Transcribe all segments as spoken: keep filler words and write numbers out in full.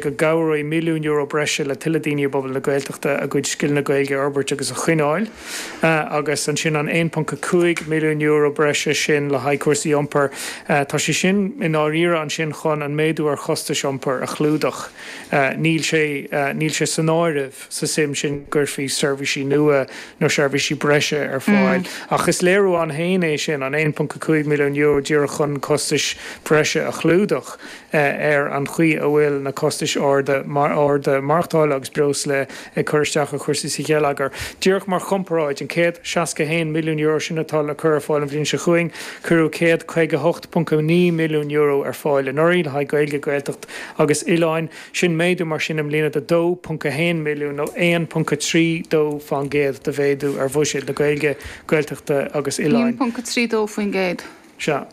go gcabhróidh milliún euro breise le tuilleadh daoine i bpobal na Gaeltachta a gcuid scileanna Gaeilge a fhorbairt agus a choinneáil, agus ansin an aon ponc a cúig milliún euro breise sin le haghaidh cúrsaí iompair, tá sé sin i ndáiríre ansin chun an méadú ar chostais iompair a chlúdach. Níl sé, níl sé san áireamh sa suim sin go gcuirfí seirbhísí nua nó seirbhísí breise ar fáil. Ach is léiriú ann féin é sin, an aon ponc a cúig milliún euro díreach chun costais bhreise a chlúdach ar an chaoi a bhfuil na costais arda arda maireachtála agus breosla ag cur isteach ar chúrsaí sa gheilleagar. Díreach mar chomparáid, an céad seasca a haon milliún euro sin atá le cur ar fáil an bhliain seo chugainn, cuireadh céad caoga a hocht ponc a naoi milliún euro ar fáil anuraidh le haghaidh Gaeilge, Gaeltacht agus Oileáin. Sin méadú mar sin i mbliana de dó ponc a haon milliún nó aon ponc a trí dó faoin gcéad de mhéadú ar bhuiséad na Gaeilge, Gaeltachta agus Oileáin. aon ponc a trí dó faoin gcéad. Sea.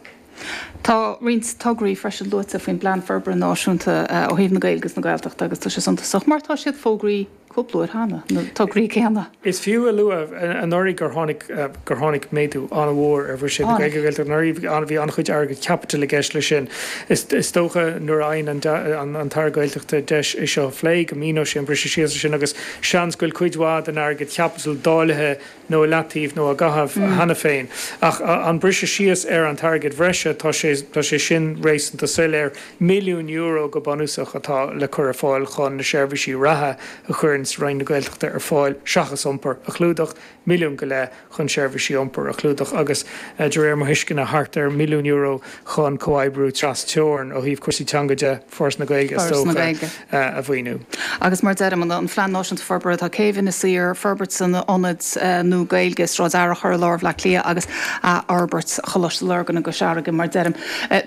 Tá roinnt tograí freisin luaite faoin bPlean Forbartha Náisiúnta ó thaobh na Gaeilge agus na Gaeltachta agus tá sé suntasach mar tá siad fógraithe cúpla uair cheana, na tograí céanna. Is fiú a lua anuraidh gur tháinig gur tháinig méadú an-mhór ar bhuiséad na Gaeilge Gaeltachta anuraidh, bhí an-chuid airgead caipitil i gceist leis sin. Is dócha nuair a fhaigheann an tAire Gaeltachta deis é seo a phlé go míneoidh sé an briseadh síos sin agus seans go bhfuil cuid mhaith den airgead chaipitil dáilithe nó i leataobh nó á gcaitheamh cheana féin. Ach an briseadh síos ar an t-airgead bhreise, tá sé, tá sé sin réasúnta soiléir. Milliún euro go bunúsach atá le cur ar fáil chun na seirbhísí reatha a chuireann Roinn na Gaeltachta ar fáil, seachas iompar, a chlúdach. Milliún go leith chun seirbhísí iompair a chlúdach agus, de réir mo thuisceana, thart ar mhilliún euro chun comhoibriú tras-teorann ó thaobh cúrsaí teanga de, Foras na Gaeilge is dócha, a mhaoiniú. Agus mar a deirim, an Phlean Náisiúnta Forbartha, tá Céibh Inis Oírr, forbairt an ionaid nua Gaeilge i Sráid Fhearchair i lár Bhaile Átha Cliath agus athfhorbairt Choláiste Lurgan i gCois Fharraige. Mar a deirim,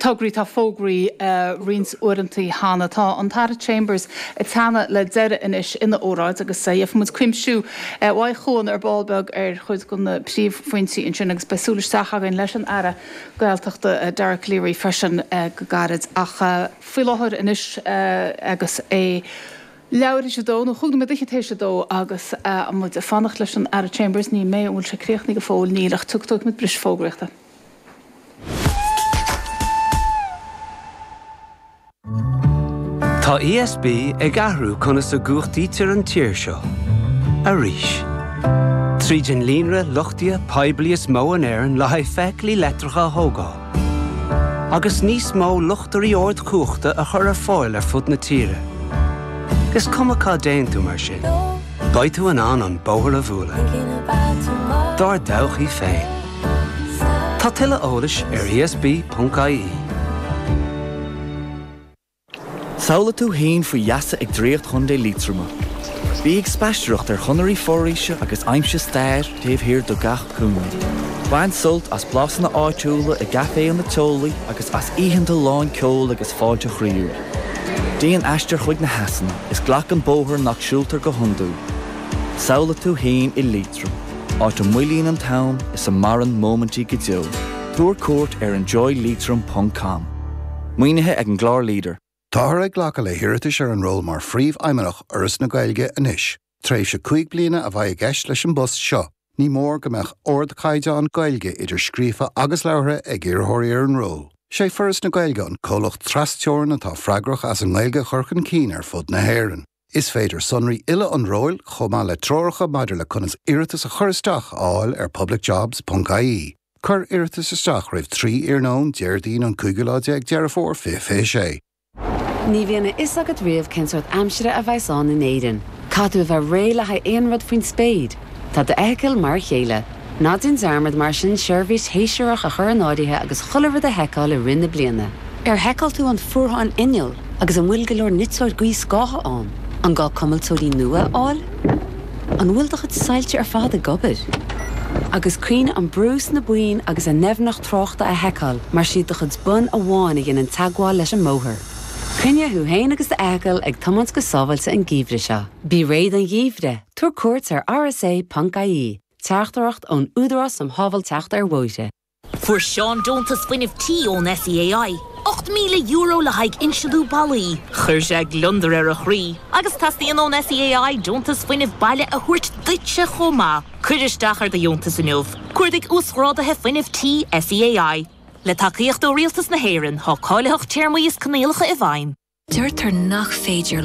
tograí atá fógraithe roinnt uaireanta cheana. Tá an tAire Chambers ag teannadh le deireadh anois ina óráid agus gheobhaidh muid cuimsiú uaidh Chuan ar ball beag ar chuid de na príomhphointí ansin agus beidh súil isteach againn leis an Aire Gaeltachta Dara Calleary freisin go gairid. Ach faoi láthair anois agus é leathuair théis a dó nó chúig nóiméad fhichead théis a dó agus muid ag fanacht leis an Aire Chambers, níl mé, an bhfuil sé críochnaithe go fóill? Níl, ach tógfaidh muid briseadh fógraíochta. Tá ESB ag athrú conas a gcumhachtaítear an tír seo. Arís. Tríd an líonra luchtaithe poiblí is mó in Éirinn le haghaidh feithiclí leictreacha a thógáil. Agus níos mó luchtairí ardchumhachta a chur ar fáil ar fud na tíre. Is cuma cá dtéann tú mar sin, beidh tú in ann an bóthar a bhualadh. Dár dtodhchaí féin. Tá tuilleadh eolais ar ESB.ie. Samhlaigh tú féin faoi gheasa ag Draíocht Chontae Liatroma. Bí ag spaisteoireacht ar chonairí foraoise agus aimsigh stair taobh thiar de gach cúinne. Bain sult as blasanna áitiúla i gcaiféanna teolaí agus as oícheanta lán ceoil agus fáilte chroíúil. Déan aistear chuig na heasanna is glac an bóthar nach siúltar go hiondúil. Samhlaigh tú féin i Liatroim, áit a moillíonn an t-am is a maireann móimintí go deo. Tabhair cuairt ar enjoyleitrim ponc com. Maoinithe ag an gclár Leader. Táthar ag glacadh le hiarratais ar an ról mar Phríomhfheidhmeannach Fhoras na Gaeilge anois. Tréimhse cúig bliana a bheidh i gceist leis an bpost seo. Ní mór go mbeadh ardchaighdeán Gaeilge idir scríofa agus labhartha ag iarrthóirí ar an ról. Sé Foras na Gaeilge an comhlacht trasteorann atá freagrach as an nGaeilge a chur chun cinn ar fud na hÉireann. Is féidir sonraí uile an róil, chomh maith le treoracha maidir le conas iarratas a chur isteach a fháil ar publicjobs ponc ie. Cuir iarratas isteach roimh trí iarnóin Déardaoin an cúigiú lá déag Deireadh Fómhair fiche fiche sé. Ní bhíonn a fhios agat riamh cén sórt aimsire a bheas ann in Éirinn. Caithfidh tú a bheith réidh le haghaidh aon rud faoin spéir. Tá d'fheithicil mar a chéile. Ná déan dearmad mar sin seirbhís shéasúrach a chur in áirithe agus chuile rud a sheiceáil i rith na bliana. Ar sheiceáil tú an fuarthán inneall agus an bhfuil go leor niteoir gaothscátha ann? An gá cuimilteoirí nua a fháil? An bhfuil do chuid soilse ar fad ag obair? Agus cuimhnigh an brú sna boinn agus a ndoimhneacht tráchta a sheiceáil mar siad do chuid bonn amháin a dhéanann teagmháil leis an mbóthar. Coinnigh thú féin agus d'fheithicil ag tiomáint go sábháilte an geimhreadh seo. Bí réidh don gheimhreadh, tabhair cuairt ar rsa.ie, teachtaireacht ón Údarás um Shábháilteacht ar Bhóithre. Fuair Seán deontas fuinnimh tí ón SEAI, ocht míle euro le haghaidh insealú ballaí. Chuir sé gliondar ar a chroí, agus teastaíonn ón SEAI deontas fuinnimh baile a thabhairt duitse chomh maith. Cuir isteach ar do dheontas inniu. Cuardaigh Uasghráduithe Fuinnimh Tí SEAI. Le tacaíocht ó Rialtas na hÉireann, tá cáilitheacht téarmaí is coinníollacha i bhfeidhm. Deirtear nach féidir